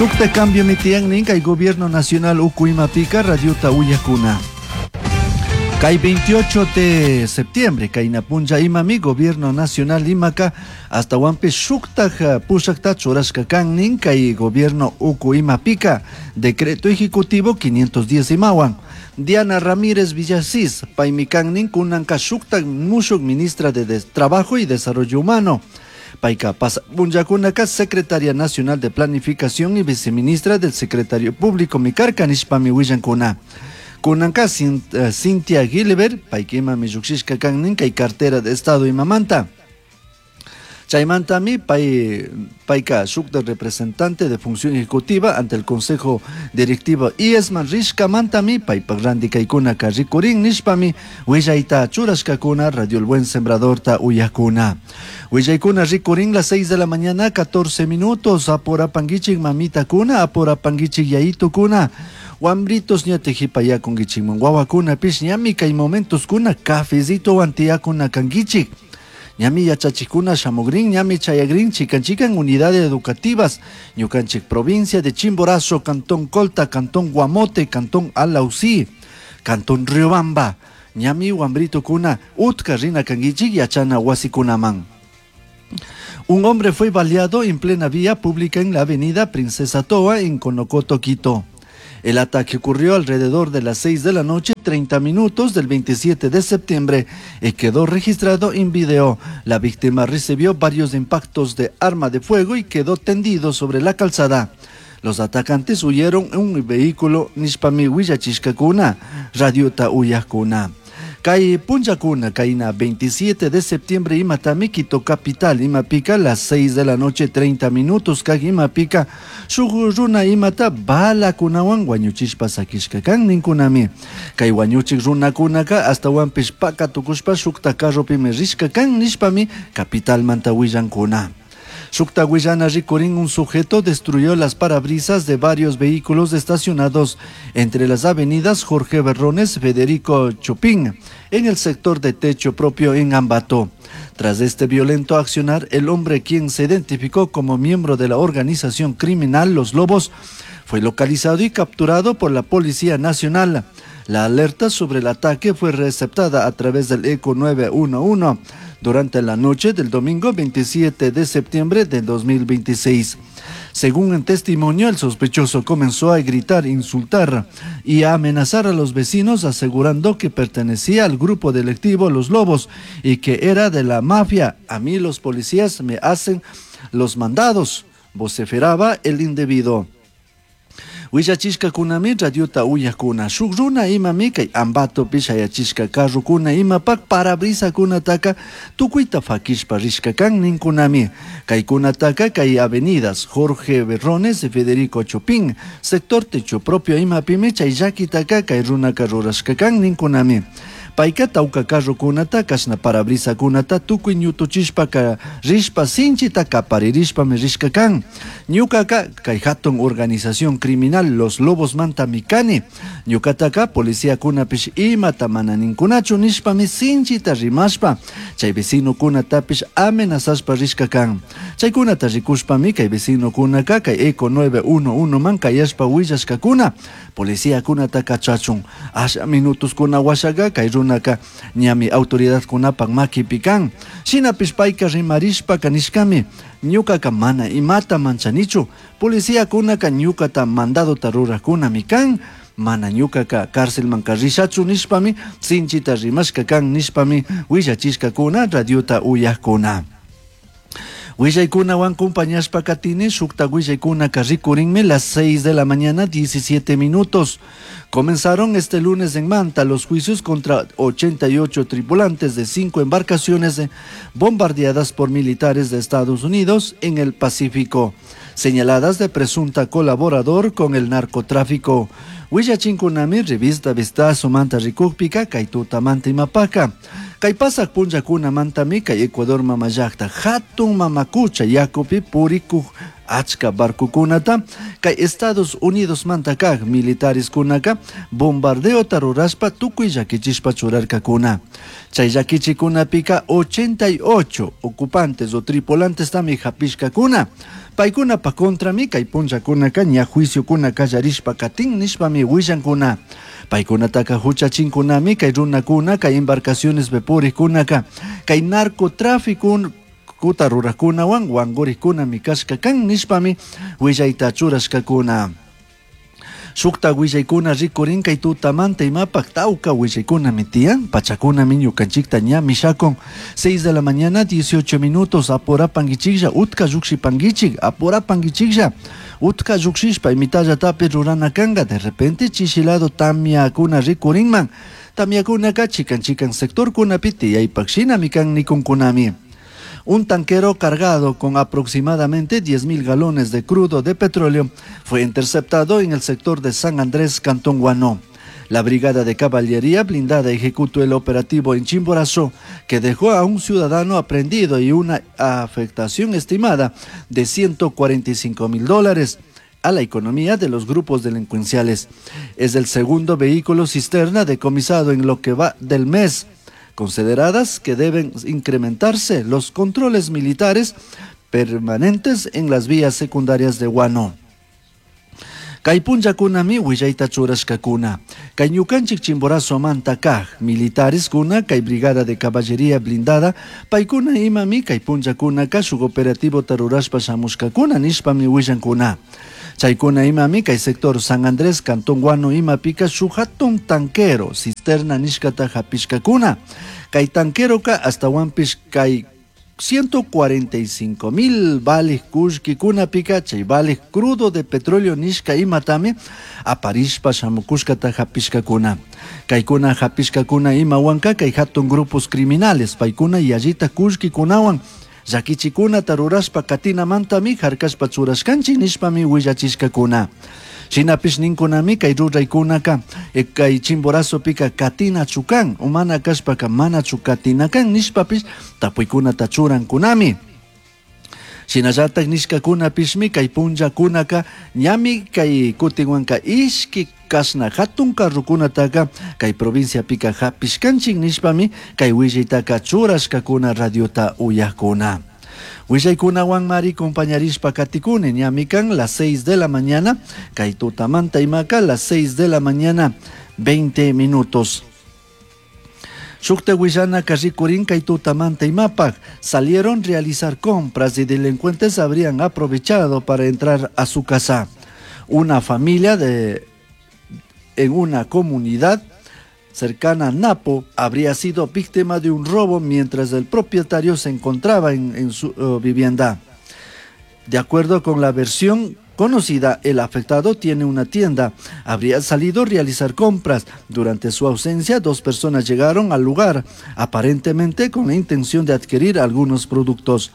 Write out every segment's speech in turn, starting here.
Shukta cambio mitiyan nin kay gobierno nacional uku imapika radiota uyakuna. Kay 28 de septiembre kayna punlla imami gobierno nacional imaka astawanpish shuktaj pushakta churashka kan nin kay gobierno uku imapika decreto ejecutivo 510 imawan. Diana Ramírez Villasís, paymi kan nin kunanka shuktak mushuk ministra de Trabajo y Desarrollo Humano. Payka punllakunaka secretaria nacional de Planificación y viceministra del secretario público mi karka nishpami willankuna. Kunanka Cynthia Gilbert, payka imami llukshishka kan nin kay cartera de Estado imamanta. Chaymantami pay, payka shukta representante de función ejecutiva ante el Consejo Directivo IESMAN rishkamantami paypak ranti kaykunaka rikurin nishpami willayta churashkakuna Radio El Buen Sembradorta uyakuna. Willaykuna rikurin las 6 de la mañana 14 minutos apurapanguichik mamitakuna apurapanguichik yayitukuna wambritos ña tijipayakunkichikman wawakunapish ñami kay momentoskuna cafecitowan tiyakuna kankichik. Ñami yachachikuna shamugrin, ñami chayagrin, chican chican unidades educativas, ñukanchik provincia de Chimborazo, Cantón Colta, Cantón Guamote, Cantón Alausí, Cantón Riobamba, ñami wambrito kuna, utka rina kankichik yachana wasikunaman. Un hombre fue baleado en plena vía pública en la avenida Princesa Toa en Conocoto, Quito. El ataque ocurrió alrededor de las 6 de la noche, 30 minutos del 27 de septiembre y quedó registrado en video. La víctima recibió varios impactos de arma de fuego y quedó tendido sobre la calzada. Los atacantes huyeron en un vehículo nishpami willachishkakuna, radiota uyakuna. Kay punllakuna, kayna 27 de septiembre imatami Quito capital imapika las 6 de la noche 30 minutos kag imapika shuk runa imata balakunawan wañuchishpa sakishka kan ninkunami. Kay wañuchik runakunaka astawanpish paka tukushpa shukta carropimi rishka kan nishpami capitalmanta willankuna. Shukta willana rikurin un sujeto destruyó las parabrisas de varios vehículos estacionados entre las avenidas Jorge Berrones, Federico Chopin, en el sector de techo propio en Ambato. Tras este violento accionar, el hombre, quien se identificó como miembro de la organización criminal Los Lobos, fue localizado y capturado por la Policía Nacional. La alerta sobre el ataque fue receptada a través del ECO 911 durante la noche del domingo 27 de septiembre de 2026. Según el testimonio, el sospechoso comenzó a gritar, insultar y a amenazar a los vecinos, asegurando que pertenecía al grupo delictivo Los Lobos y que era de la mafia. A mí los policías me hacen los mandados, vociferaba el individuo. Willachishkakunami radiota uyakuna shuk runa imami kay Ambatopi shayachishka carrokuna imapak parabrisakunataka tukuyta fakishpa rishka kan ninkunami. Kaykunataka kay avenidas Jorge Berrones y Federico Chopin, sector techo propio imapimi chay llakitaka kay runaka rurashka kan ninkunami. Payka tawka carrokunata kashna parabrisakunata tukuy ñutuchishpaka rishpa sinchita kaparirishpami rishka kan. Ñukaka kay hatun organización criminal Los Lobos mantami kani. Ñukataka policiakunapish imata mana ninkunachu nishpami sinchita rimashpa chay vecinokunatapish amenazashpa rishka kan. Chaykunata rikushpami kay vecinokunaka kay ECO 911 man kayashpa willashkakuna policiakunata kachachun. Asha minutoskuna washaka kay runaka ñami autoridadkunapak makipi kan. Shinapish payka rimarishpaka nishkami ñukaka mana imata manchanichu, policiakunaka ñukata mandadota rurakunami kan, mana ñukaka cárcelmanka rishachu nishpami sinchita rimashka kan nishpami willachishkakuna radiota uyakuna. Willaykunawan compañashpa katini shukta willaykunaka rikurinmi las 6 de la mañana 17 minutos. Comenzaron este lunes en Manta los juicios contra 88 tripulantes de 5 embarcaciones bombardeadas por militares de Estados Unidos en el Pacífico, señaladas de presunta colaborador con el narcotráfico. Willachinkunami revista Vistazo Manta Rikukpika kay tutamanta imapaka. Kay pasaq punllakunamantami kay Ecuador mama llaqta hatun mamakucha yakupi purikuq achka barcokunata kay Estados Unidosmanta kaq militareskunaka bombardeota rurashpa tukuy llakichishpa churarkakuna. Chay llakichikunapika 88 ocupantes o tripulantestami hapishkakuna. Paykunapa contrami kay punllakunaka ña juiciokuna kallarishpa katin nishpami willankuna. Paykunataka huchachinkunami kay runakuna kay embarcacionespi purikkunaka kay narcotráfico kuta rurajkunawan wankurikkunami kashka kan nishpami willayta churashkakuna. Shukta willaykuna rikurin kay tutamanta imapaq tawka willaykunami tiyan pachakunami ñukanchikta ña mishakun. 6 de la mañana 18 minutos apurapankichiklla utka llukshipankichik apurapankichiklla utka llukshishpa imitallatapi rurana kanka. De repente chishilado tamyakuna rikurinman. Tamyakunaka chikan chikan sectorkunapi tiyaypak shinami kan nikunkunami. Un tanquero cargado con aproximadamente 10.000 galones de crudo de petróleo fue interceptado en el sector de San Andrés, Cantón Guano. La brigada de caballería blindada ejecutó el operativo en Chimborazo, que dejó a un ciudadano aprehendido y una afectación estimada de $145.000 a la economía de los grupos delincuenciales. Es el segundo vehículo cisterna decomisado en lo que va del mes, consideradas que deben incrementarse los controles militares permanentes en las vías secundarias de Guano. Kay punllakunami willayta churashkakuna. Kay ñukanchik Chimborazo manta kaj militares kuna kay brigada de caballería blindada paykuna imami kay punllakunaka shuk operativo rurashpa shamushkakuna nishpami willankuna. Chaykuna imami kay sector San Andrés, Cantón Guano imapika shuk hatun tanquero cisterna nishkata hapishkakuna. Kay tanqueroka astawanpish kay 145.000 vales kullkikunapika chay vales crudo de petróleo nishka imatami aparishpa shamukushkata hapishkakuna. Kaykuna hapishkakuna imawanka kay hatun grupos criminales paykuna yallita kullkikunawan llakichikunata rurashpa katinamantami harkashpa churashkanchik nishpami willachishkakuna. Shinapish ninkunami kay ruraykunaka kay Chimborazopika katina chukan umana kashpaka mana katina kan nishpapish tapuykunata churankunami. Shinallatak nishkakunapishmi kay punllakunaka ñami kay kutinwanka ishki kashna hatun carrokunataka kay provinciapika hapishkanchik nishpami kay willaytaka churashkakuna radiota uyakuna. Willaykunawan mari compañarishpa katikuni ñami kan las 6 de la mañana, kay tutamanta imaka las 6 de la mañana 20 minutos. Shukta willana rikurin kay tutamanta imapak salieron realizar compras y delincuentes habrían aprovechado para entrar a su casa. Una familia en una comunidad cercana a Napo habría sido víctima de un robo mientras el propietario se encontraba en su vivienda. De acuerdo con la versión conocida, el afectado tiene una tienda. Habría salido a realizar compras. Durante su ausencia, 2 personas llegaron al lugar, aparentemente con la intención de adquirir algunos productos.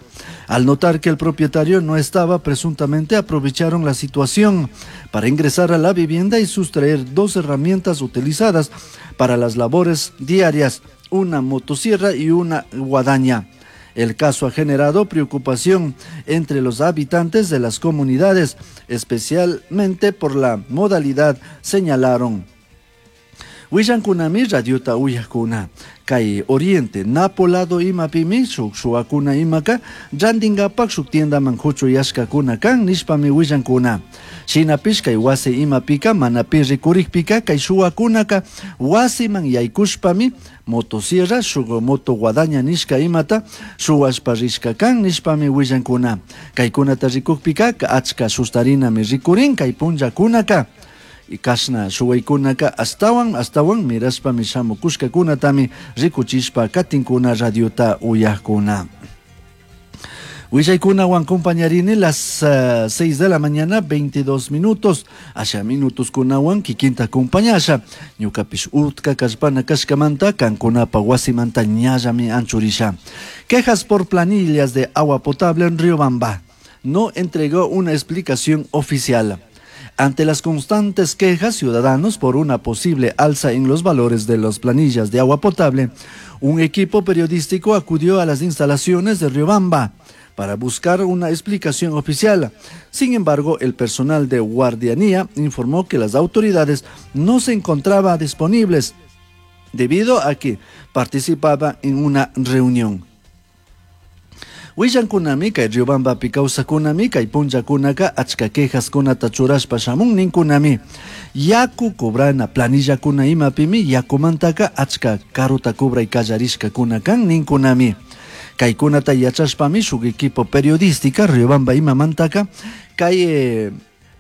Al notar que el propietario no estaba, presuntamente aprovecharon la situación para ingresar a la vivienda y sustraer 2 herramientas utilizadas para las labores diarias, una motosierra y una guadaña. El caso ha generado preocupación entre los habitantes de las comunidades, especialmente por la modalidad, señalaron. Willankunami radiota uyakuna. Kay Oriente, Napo lado imapimi, shuk shuwakuna imaka, randingapak shuk tiendaman huchuyashkakuna kan nishpami willankuna. Shinapish kay wasi imapika, manapi rikurikpika, kay shuwakunaka wasiman yaykushpami motosierra, shuk moto guadaña nishka imata, shuwashpa rishka kan nishpami willankuna. Kaykunata rikukpika, achka sustarinami rikurin kay punllakunaka. Y kashna shuwaykunaka astawan, astawan mirashpami shamukushkakunatami rikuchishpa katinkuna radiota uyakuna. Willaykunawan compañarini las 6 de la mañana, 22 minutos. Asha minutos kunawan kikinta compañasha. Ñukapish utka kallpana kashkamanta kankunapa wasimanta ñallami anchurisha. Quejas por planillas de agua potable en Riobamba. No entregó una explicación oficial. Ante las constantes quejas ciudadanos por una posible alza en los valores de las planillas de agua potable, un equipo periodístico acudió a las instalaciones de Riobamba para buscar una explicación oficial. Sin embargo, el personal de guardianía informó que las autoridades no se encontraban disponibles debido a que participaba en una reunión. Willankunami kay Riobambapi kawsakunami kay punllakunaka achka quejaskunata churashpa shamun ninkunami. Yaku cobrana planillakuna imapimi yakumantaka achka karuta cobray kallarishkakuna kan ninkunami. Kaykunata yachashpami shuk equipo periodística Riobamba imamantaka kay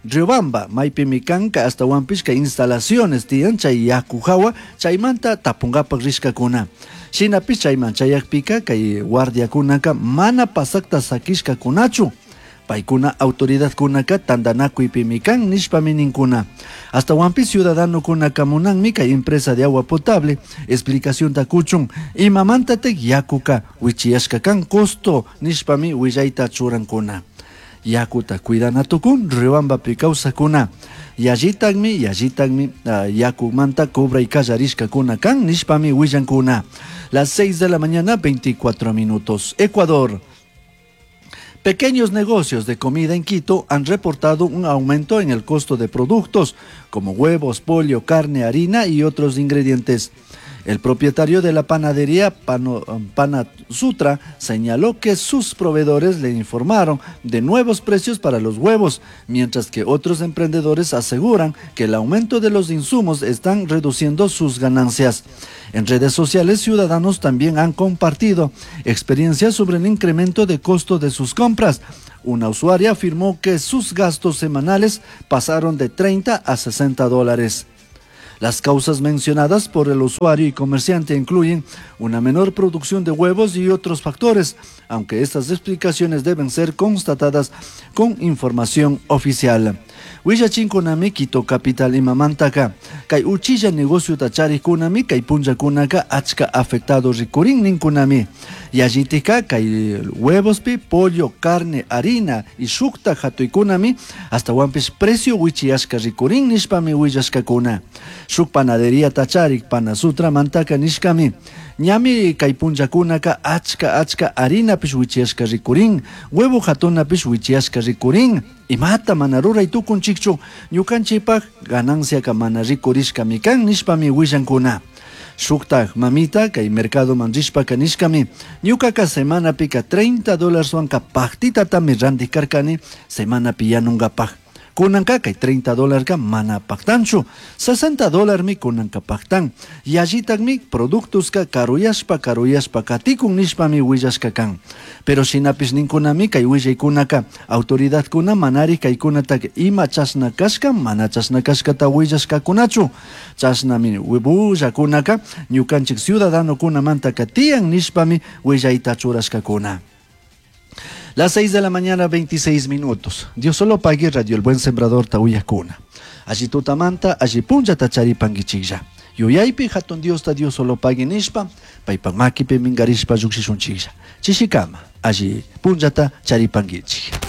Riobamba maypimi kanka astawanpish kay instalaciones tiyan chay yaku hawa chaymanta tapunkapak rishkakuna. Shinapish chayman chayakpika kay guardiakunaka mana pasakta sakishkakunachu. Paykuna autoridadkunaka tantanakuypimi kan nishpami ninkuna. Astawanpish ciudadanokunaka munanmi kay empresa de agua potable explicacionta kuchun imamantatik yakuka wichiyashka kan costo nishpami willayta churankuna. Yakuta cuidana tukun Riobambapi kawsakuna. Yallitakmi, yallitakmi, yakumanta cobray kallarishkakuna kan nishpami willankuna. Las 6 de la mañana, 24 minutos. Ecuador. Pequeños negocios de comida en Quito han reportado un aumento en el costo de productos como huevos, pollo, carne, harina y otros ingredientes. El propietario de la panadería Panasutra señaló que sus proveedores le informaron de nuevos precios para los huevos, mientras que otros emprendedores aseguran que el aumento de los insumos están reduciendo sus ganancias. En redes sociales, ciudadanos también han compartido experiencias sobre el incremento de costo de sus compras. Una usuaria afirmó que sus gastos semanales pasaron de 30 a 60 dólares. Las causas mencionadas por el usuario y comerciante incluyen una menor producción de huevos y otros factores, aunque estas explicaciones deben ser constatadas con información oficial. Willachinkunami Quito capital imamantaka, kay uchilla negociota charikkunami kay punllakunaka achka afectado rikurin ninkunami. Yallitika kay huevospi, pollo, carne, harina y shukta hatuykunami astawanpish precio wichiyashka rikurin nishpami willashkakuna. Shuk panadería tacharik panasutra mantaka nishkami. Ñami kay punllakunaka achka achka harinapish wichiyashka rikurin, huevo hatunapish wichiyashka rikurin. Imata mana ruray tukunchikchu, ñukanchikpak gananciaka mana rikurishkami kan nishpami willankuna. Shuktak mamita kay mercadoman rishpaka nishkami, ñukaka semanapika 30 dólareswanka paktitatami randik karkani semanapi yanunkapak. Kunanka kay 30 dólarka mana paktanchu, 60 dólarmi kunanka paktan. Yallitakmi productoska karuyashpa karuyashpa katikun nishpami willashka kan. Pero shinapish ninkunami kay willaykunaka autoridadkuna manari kaykunataka ima chashna kashka mana chashna kashkata willashkakunachu. Chashnami bullakunaka ñukanchik ciudadanokunamantaka tiyan nishpami willayta churashkakuna. Las 6 de la mañana, 26 minutos. Dios solo pague Radio El Buen Sembrador Tauyacuna. Allí tutamanta, allí punlla tacharipanguichilla. Yuyaypi hatun Dios ta Dios solo pague nishpa, paypa makipi mingarishpa llukshishunchilla. Chishikama, allí punllata charipanguichilla.